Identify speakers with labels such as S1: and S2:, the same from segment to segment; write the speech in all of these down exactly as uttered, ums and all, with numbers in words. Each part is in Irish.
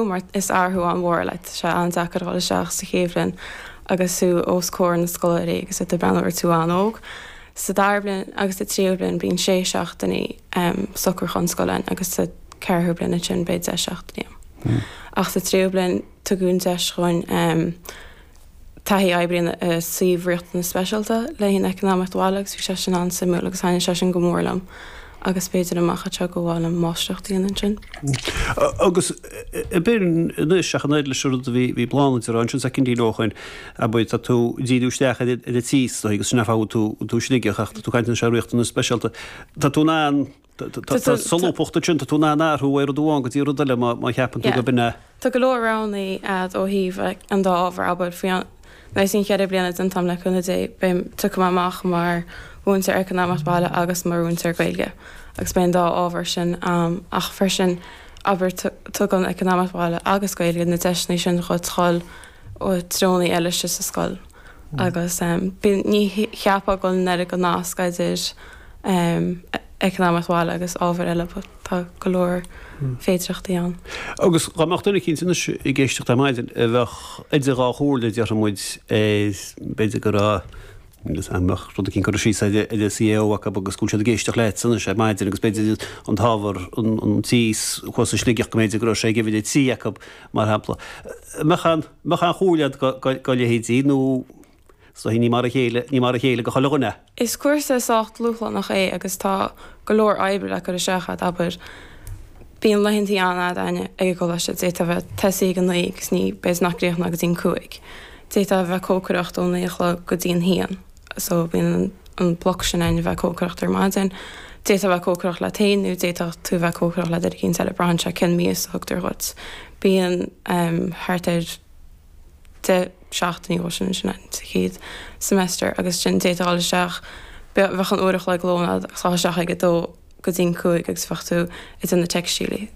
S1: Mar is athrú an-mhór like tá sé an-deacair dul isteach sa chéad bhliain agus tú os comhair na scoláirí agus iad ag breathnú ort tú an-óg. Sa dara bliain agus sa tríú bliain bíonn sé seachtainí um, socrúchán scoile agus sa ceathrú bliain sin beidh deich seachtainí. Mm. Ach sa tríú bliain tugann deis chun um, taithí oibre uh, suíomh riachtanas speisialta le haghaidh eacnamaíocht bhaile agus bhí sé sin an-suimiúil agus thaithin sé sin go mór liom agus b'fhéidir amach anseo go bhfuil an máistreacht dhéanamh ansin.
S2: Agus b'in anois ach an oiread leis an rud a bhí bhí Bláthnaid a rá ansin soicindín ó shin abair tá tú díriú isteach ar ar an tíos agus sin ar fáth tú tú Sligeach ach tá tú caint anois ar riachtanas speisialta. Tá tú in ann Tá solúbthacht ansin, tá tú in ann athrú ó rud amháin go dtí rud eile má má cheapann tú
S1: Yeah.
S2: go b'in é.
S1: Tá go leor roghanna agat ó thaobh like, an dá ábhar abair faoi an leis an cheithre bliana den tam le cúnamh Dé beidh tiocfaidh mé amach mar mhúinteoir eacnamaíocht baile agus mar mhúinteoir Gaeilge agus beidh an dá ábhar sin um, ach freisin abair tugann eacnamaíocht baile agus Gaeilge na deiseanna sin chun dul ó treonaí eile sa scoil. Agus um, bí- ní cheapfá go bhfuil an oiread go nasc idir um, eacnamaíocht bhaile agus ábhar eile, but tá go leor féidearthachtaí ann.
S2: Agus dá mbeadh duine eicínt anois ag éisteacht ar maidin a bheadh idir dhá chomhairle déarfaidh muid b'fhéidir go raibh agus an mbeadh rud eicínt curtha síos ar ar CAO acu agus go bhfuil siad ag éisteacht leat anois ar maidin agus b'fhéidir an t-ábhar an an tíos thuas i Sligeach go mb'fhéidir go raibh sé ag uimhir a trí acu mar shampla. Mbeadh an mbeadh aon chomhairle agat go go go leithéidí nó so ní mar a chéile ní mar a chéile go chuile dhuine.
S1: Is cúrsa sách dúshlánach é agus tá go leor oibre le cur isteach agat abair. Bíonn laethantaí an-fhada againne ag an gcoláiste d'fhéadfá bheith tosaí ag a naoi agus ní b'fhéidir nach gcríochnófá go dtí'n cúig. D'fhéadfá bheith cócaireacht ó naoi a chlog go dtí'n haon. So bíonn an, an bloc sin ann bheith cócaireacht ar maidin. D'fhéadfá bheith cócaireacht leat féin nó d'fhéadfá tú bheith cócaireacht le duine eicínt eile braitheann sé cén mias a thugtar dhuit. Bíonn um, thart ar deich seachtainí ó sin sin sa chéad semester agus sin d'fhéadfá dul isteach bheadh an uair a chloig lóin agus dul isteach ag a dó go dtí'n cúig agus bheadh tú ag déanamh teicstílí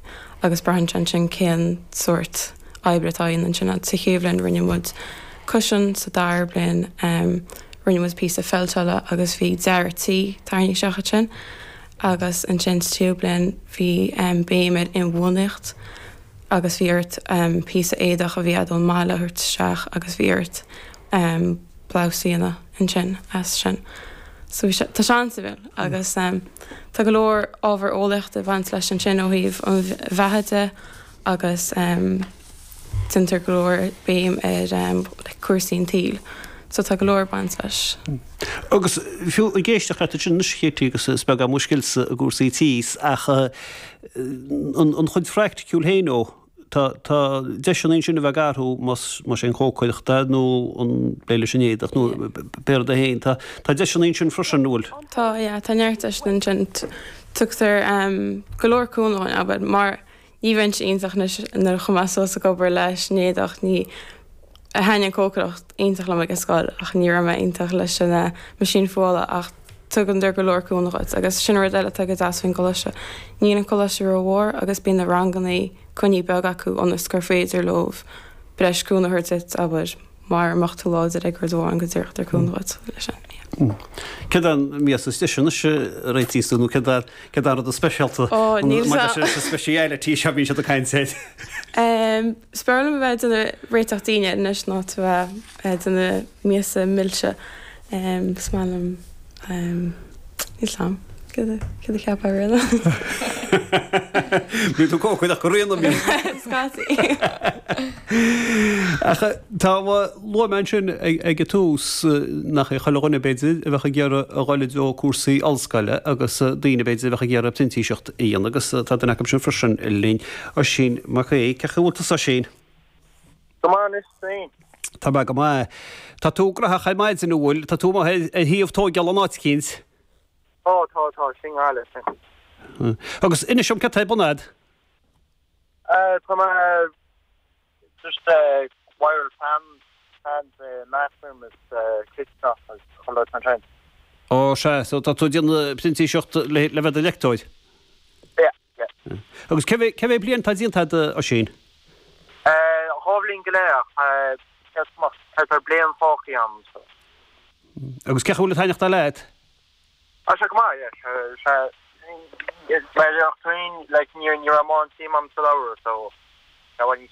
S1: agus braitheann sé ansin cén sórt oibre atá ann ansin sa chéad bhliain rinne muid cushion sa dara bliain um, rinne muid píosa feilteála agus bhí dearadh tí tarraingthe isteach ansin agus ansin sa tríú bliain bhí um, béim ar inbhuanaitheacht agus bhí ort um, píosa éadach a bhí agat ón mbaile a thabhairt isteach agus bhí ort um, blouse a dhéanamh ansin as sin. So bhí sé- tá sé an-suimiúil agus um, tá go leor ábhar eolaíochta ag baint leis ansin ó thaobh an bheatha de agus um, déantar go leor béim ar um, like, cúrsaí an tsaoil. So tá go leor baint leis.
S2: Agus fiú ag éisteacht leat sin anois Katie agus is beag mo scil-sa i gcúrsaí tís ach eh, an an chuid phraiticiúil féin ó Tá tá deiseanna ansin a bheith ag athrú más más é an chócaireacht nó an plé leis an éadach nó pé rud é féin tá tá deiseanna ansin freisin bhfuil.
S1: Tá yeah, tá neart deiseanna ansin tugtar um, go leor cúnamh abair mar ní bheinnse iontach nuair a chuaigh mé suas ag obair leis an éadach ní thaitin an cócaireacht iontach liom ag an scoil ach ní raibh mé iontach leis an uh, meaisín fuála ach tugann go leor cúnamh dhuit agus sin rud eile atá go deas faoin gcoláiste. Níl an coláiste rómhór agus bíonn na ranganna coinní beag acu ionas gur féidir leo breis cúnamh a thabhairt duit abair mar mbeadh tú láidir ag rud amháin go dtabharfar cúnamh dhuit leis sin. yeah.
S2: Céard an mias is deise anois a réitíos tú nó céard céard an rud is speisialta
S1: Ó, níl sa-
S2: speciality seo bhí siad ag caint air.
S1: Um, Is fearr liom a bheith déanamh réiteach dinnéir anois ná tú bheith déanamh miasa milse. Um, Is maith liom um, níl am. Cad a cheapfá Ríona?
S2: Bhí tú cócaireacht go rianta mí.
S1: Scaití.
S2: Ach tá luaigh mé ansin ag an tús nach é chuile dhuine b'fhéidir a bheadh ag iarraidh a dhul i dtreo cúrsaí ollscoile agus daoine b'fhéidir a bheadh ag iarraidh printíseacht a dhéanamh agus tá duine acu sin freisin linn Oisín Mac Aoidh, cén chaoi a bhfuil tusa Oisín?
S3: Go maith anois féin.
S2: Tá mé go maith. Tá tú graitheach ar maidin an bhfuil, tá tú amuigh ar thaobh tógála in áit eicínt.
S3: Tá tá tá sin eile sin.
S2: Agus inis dom cad tá ar bun agat?
S3: Tá mé just uh, wire fan fans uh, bathroom is uh, kitchen agus chuile an sin.
S2: Ó sé, so tá tú ag déanamh printíseacht le le bheith i do leictreoir.
S3: Yeah, yeah.
S2: Agus cé cé mhéad bliain tá déanta agat Oisín?
S3: Uh, dhá bhliain go leith uh, tá bliain fágtha agam so.
S2: Agus cén chaoi a bhfuil ag taitneamh leat?
S3: Tá sé go maith, yeah, sé mar féin like ní ní raibh suim agam sa leabhar so Tá níos